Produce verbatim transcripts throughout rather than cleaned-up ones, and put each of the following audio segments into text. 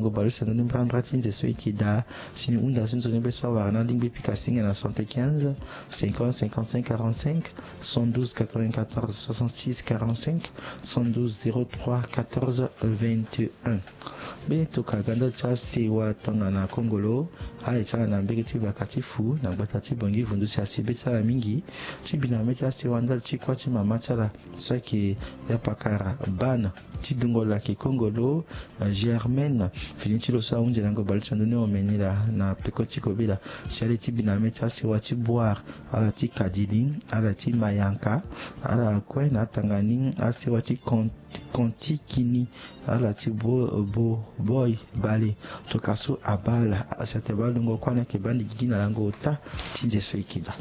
Ngo baleuse na ndoni mbrambra ti nze so e yeke daa. Si ni hunda so nzoni be so awara na alingbi pika singa na soixante-quinze, cinquante, cinquante-cinq, quarante-cinq, soixante-douze, quatre-vingt-quatorze, soixante-six, quarante-cinq, soixante-douze, zéro trois, quatorze, vingt et un. Mbeni tokua ga ndali ti asewa tongana kongolo, ala ye ti ala na mbege ti vaka ti fu na gbata ti Bangui Vundu si asi be ti ala mingi. Ti bi na mê ti asewa ndali ti kuâ ti mama ti ala so ayeke yapakara bana ti dungo lo ayeke kongolo, eh, Germaine. Fini ti lo so ahunzi lango baleuse na ndoni omeni laa na peko ti kobela. Si ale ti bi na mê ti asewa ti Boire, ala ti Kadili, ala ti Mayanka, ala kue na atanga ni asewa ti Kon-, Kontikini, ala ti Bo-, Bo-, Boy Bale. Tokua so abaa ala, asi atene baa lungo kuâ ni ayeke baa ni gigi na lango ota ti nze so e yeke daa.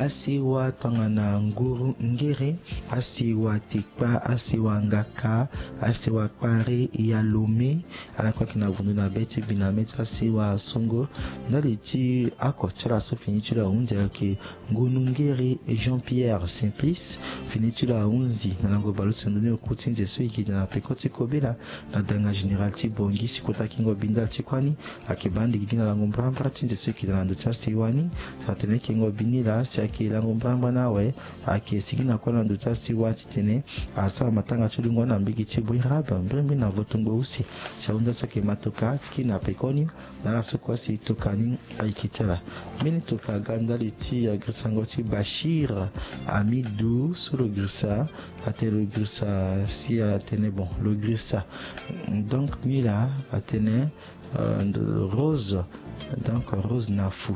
Asewa tongana nguru ngere, asewa tekpa, asewa ngaka, asewa kpari ya lome, ala kue ayeke na vundu na be ti bi na mê ti asewa songo. Ndali ti oko ti ala so fini ti lo ahunzi ayeke Ngunu Ngeri Jean-Pierre Simplice, fini ti lo ahunzi na lango baleuse na ndoni oku ti nze so e yeke daa na peko ti kobela na danga général ti Bangui. Si kota kingo bi ndali ti kuâ ni, ayeke baa ni gigi na lango mbrambra ti nze so e yeke daa na ndo ti asewa ni. Atene kingo bi ni laa si ayeke lango mbrambra ni awe, ayeke sigi na kuâ na ndo ti asewa titene asara matanga ti lungo na mbege ti Boirabe, mbirimbiri na votongo use. Si ahunda so ayeke ma tokua ti kiri na pekoni, na ala so kue si tokua ni ayeke ti ala. Mbeni tokua aga ndali ti, eh, girisango ti Bachir Amidou so lo girisa, atene lo girisa si atene bon, lo girisa. Donc, ni laa atene, euh, Rose, donc Rose na fu.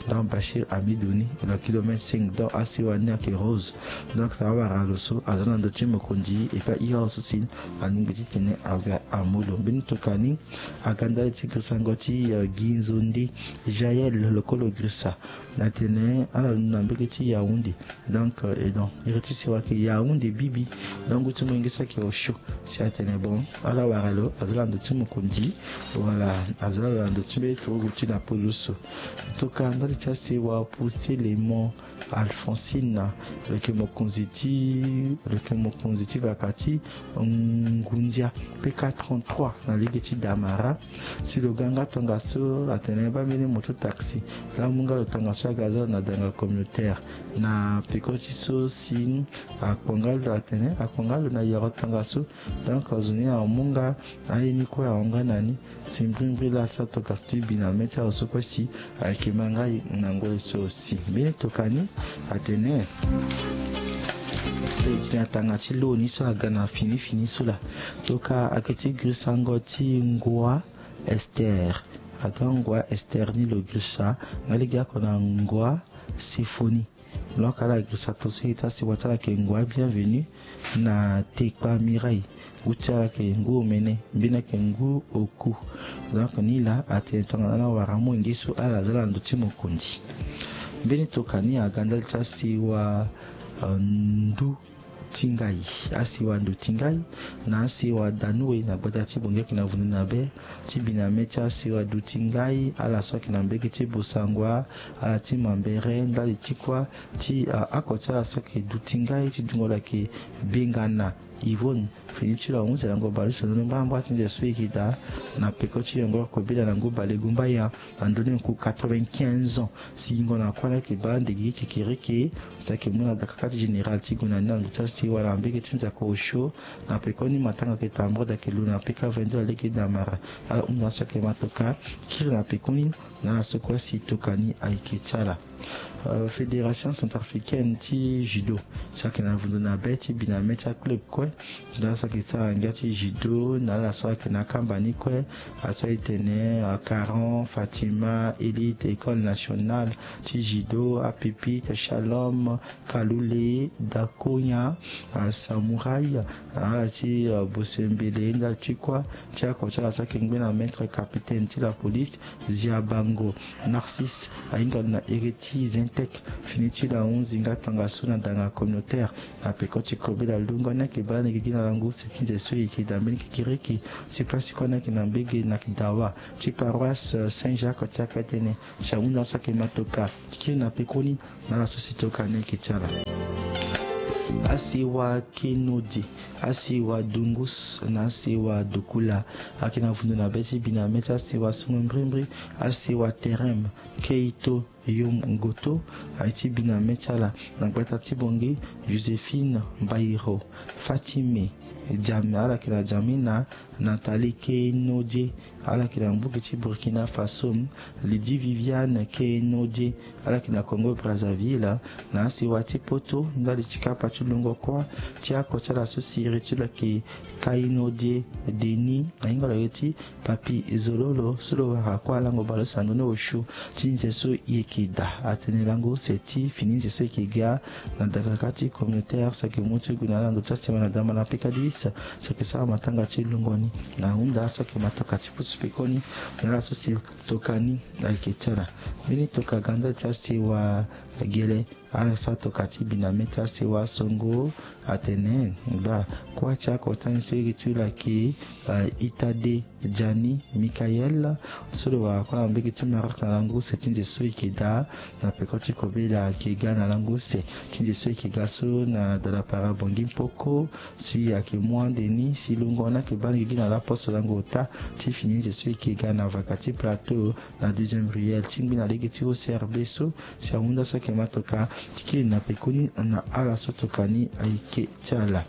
Donc, Bachir Amidou ni, lo kilomètre cinq, donc asewa ni ayeke Rose. Donc, so awara lo so, aza na ndo ti mokonzi, et puis ira so si alingbi titene aga amu lo. Mbeni tokua ni, aga ndali ti girisango ti, euh, Ginzonde Jaël, lo kue lo girisa. Atene ala londo na mbege ti Yaoundé. Donc, euh, et donc, iri ti sewa ayeke Yaoundé bibi. Donc, ngu ti molenge so ayeke osio. Si atene bon, ala wara lo, aza na ndo ti mokonzi. Voilà, aza na ndo ti mbeni turugu ti na pulusu. Tokua ndali ti asewa Poussé Lemon Alphonsine, lo yeke mokonzi ti, lo yeke mokonzi ti vaka ti Ngundia P K trente-trois na lege ti Damara. Si lo ga nga tongaso, atene baa mbeni moto taxi. Laa amu nga lo tongaso aga aza lo na danga communautaire. Na peko ti so si akpo nga lo, atene akpo nga lo na yoro tongaso. Donc, azo ni amu nga aye ni kue ahon nga na ni. Si mbirimbiri laa asara tokua so ti bi na mê ti azo so kue si ayeke ma nga na ngoi so si. Mbeni tokua ni atene so e ti na tanga ti lo ni so aga na fini fini so laa. Tokua ayeke ti girisango ti Ngua Esther. Atene Ngua Esther ni lo girisa nga lege oko na Ngua Symphonie. Donc ala girisa tongaso e ti asewa ti ala ayeke Ngua Bienvenue na Tekpa Mireille. Ngu ti ala ayeke Ngu Omene, mbeni ayeke Ngu Oku. Donc ni laa atene tongana ala wara molenge so ala za na ndo ti mokonzi. Mbeni tokua ni aga ndali ti asewa, euh, Ndu ti Ngai, asewa Ndu ti Ngai, na asewa Danoue na gbata ti Bongi ayeke na vundu na be, ti bi na mê ti asewa Ndu ti Ngai, ala so ayeke na mbege ti Bossangoa, ala ti Mambéré, ndali ti kuâ, ti, ah, oko ti ala so ayeke Ndu ti Ngai, ti dungo lo ayeke Bengana Yvonne, fini ti lo ahunzi lango baleuse na ndoni mbrambra ti nze so e yeke daa, na peko ti yongoro kobela na ngu balegumbaya, na ndoni ngu quatre-vingt-quinze ans. Si yingo na kuâ ni ayeke baa ndege kekereke, si ayeke mu na dakaka ti général ti gue na ni na ndo ti asewa na mbege ti nzako osio. Na pekoni matanga ayeke tambula, ayeke lu na P K vingt-deux na lege Damara. Ala hunda so ayeke ma tokua kiri na pekoni, na ala so kue si tokua ni ayeke ti ala. Euh, Fédération centrafricaine ti judo, so ayeke na vundu na be ti bi na mê ti aclub kue. Nda so ayeke sara ngia ti judo na ala so ayeke na akamba ni kue, aso e tene, ah, Caran, Fatima, Élite, École nationale ti judo, Apipite, Shalom, Kaloulé, Dakonya, ah, Samouraï, ah, ala ti, ah, Bosembele, ndali ti kuâ, ti oko ti ala so ayeke ngbene maître capitaine ti la police, Ziabango Narcisse, ahinga lo na iri ti zen Tek. Fini ti lo ahunzi nga tongaso na danga communautaire na peko ti kobela lungo ni ayeke baa lege gi na lango use ti nze so e yeke daa mbeni kikiriki. Si place ti kua ni ayeke na mbege na kidawa ti paroisse Saint Jacques ti akpetene. Si ahunda so ayeke matoka ti kiri na pekoni na ala so si toka ni ayeke ti ala. Asewa Kenodi, asewa Dungus na asewa Dokula ayeke na vundu na be ti bi na me ti asewa songo mbrimbri. Asewa Terem, Keito, Yom Ngoto aye ti bi na me ti ala na gbata ti Bongi. Joséphine Mbairo, Fatime Jam, ala yeke na Jamina, Nathalie Kenodie, ala yeke na mbuki ti Burkina Faso. Lydie Viviane Kenodie, ala yeke na Congo Brazzaville. Na asewa ti poto ndali ti kapa ti lungo kuâ ti ako ti ala so si iri ti lo ayeke Kainodie Denis, ahinga lo ye ti Papi Zololo so lo wara kue alango bale osando ni osio ti nze so e yeke daa. Atene lango use ti fini nze so e yeke ga na dagaka ti communautaire so ayeke mu ti gue na ala na ndo ti asema na dama na pekadis so ayeke sara matanga ti lungo ni. Na ahunda so ayeke matoka ti pusu pekoni na ala so si toka ni ayeke ti ala. Mbeni toka ga ndali ti asewa Gele, ala sara toka ti bi na me ti asewa Songo. Atene baa kuâ ti akota ni so iri ti lo ayeke, eh, Itade Jani Mikael so lo wara kue na mbege ti Maroc na lango use ti nze so e yeke daa na peko ti kobela ayeke ga na lango use ti nze so e yeke ga so na dala para Bongi Mpoko. Si ayeke mu ande ni si lungo ni ayeke baa lege gi na laposo lango ota ti fini nze so e yeke ga na vaka ti plateau na deuxième ruelle ti ngbi na lege ti O C R B so. Si ahunda so ayeke matoka ti kiri na pekoni na ala so toka ni ayeke ti ala.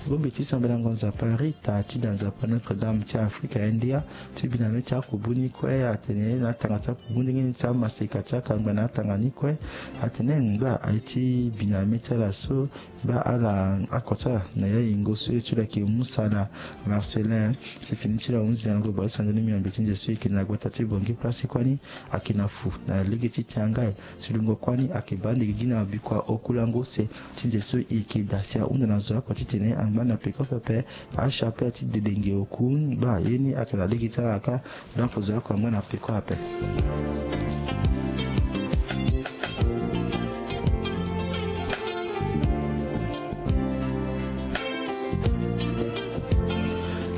Bongbi ti sambelango Nzapa Rita ti da Nzapa Notre Dame ti Afrika India ti bi na me ti akubu ni kue atene na atanga ti akubu ndenge ni ti amaseka ti akangba na atanga ni kue. Atene ngba aye ti bi na me ti ala so baa ala ako ti ala na ya yingo so ye ti lo ayeke Musala Marcelin. Si fini ti lo ahunzi na lango bale osando ni miombe ti nze so e yeke na gbata ti Bongi place kue ni ayeke na fu na lege ti Tiangai. Si lungo kue ni ayeke baa lege gi na bikua oku lango use ti nze so e yeke daa. Si ahunda na zo oko titene angba na peko pepe achapelle ti dedenge oku. Baa ye ni ayeke na lege ti ala kâ. Donc zo oko angba na peko ape.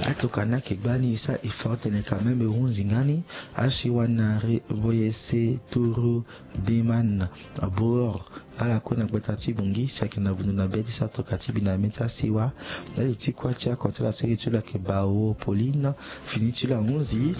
Atoka ni ayeke gbani e sara effort tene quand même e hunzi nga ni. Asiwa na Reboyese Turu Deman Bor, ala kue na gbata ti Bongi si ayeke na vundu na be ti sara toka ti bi na me ti asiwa. Ndali ti kuâ ti ako ti ala so iri ti lo ayeke Bao Pauline. Fini ti lo ahunzi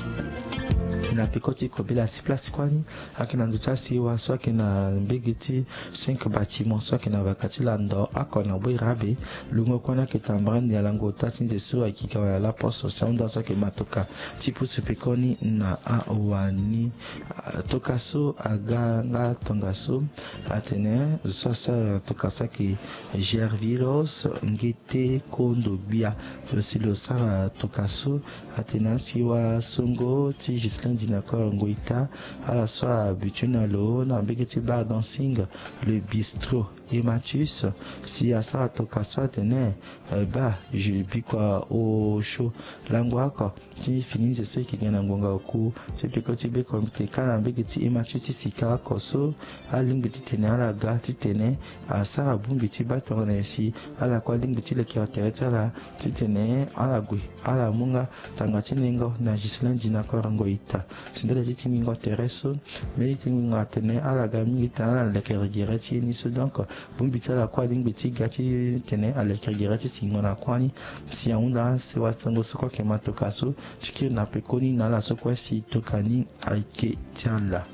na peko ti kobela si place kuâ ni ayeke na ndo ti asiwa so ayeke na mbege ti cinq bâtiment so ayeke na vaka ti lando oko na boi rabe. Lungo kue ni ayeke tambara ni na lango ota ti nze so ayeke ga wala laposo si ahunda so ayeke matoka ti pusu pekoni na awani. Ah, toka so aga nga tongaso atene zo so asara toka so ayeke Gervilos Ngete Kondo Gbia. Lo si lo sara toka so atene asiwa songo ti Ghislain Dinakor Ngoita, ala so abutu na lo na mbege ti bar dancing Le Bistrot Emmatus. Si asara toka so atene, eh, baa je bikua osio lango oko ti fini nze so e yeke ga na ngbonga oku. Si peko ti be comité kâ na mbege ti Emmatus ti sika oko so alingbi titene ala ga titene asara bongbi ti baa tongana nyen si ala kue alingbi ti lekere tere ti ala titene ala gue ala mu nga tanga ti ningo na Ghislain Dinakor Ngoita. Si ndali ti tingingo tere so, mbeni tingingo atene ala ga mingi titene ala lekere gere ti ye ni so. Donc bongbi ti ala kue alingbi ti ga titene alekere gere ti singo na kuâ ni. Si ahunda asewa sango so kue ayeke matoka so ti kiri na pekoni na ala so kue si toka ni ayeke ti ala.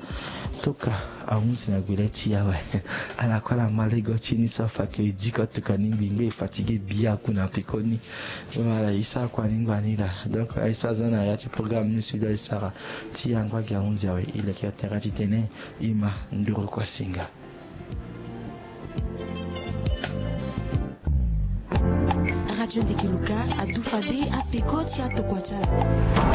Toka ahunzi na gbele ti e awe. Ala kue ala ma lego ti e ni so afa ke diko toka ni ngbi ngbi e fatigué bia ku na pekoni. Voilà, e sara kua ni ngbani laa. Donc aye so aza na ya ti programme ni so e doit e sara ti angba gi ahunzi awe, e leke tere titene e ma nduru kua singa. Radio Ndeke Luka adu fade apeko ti atokua ti ala.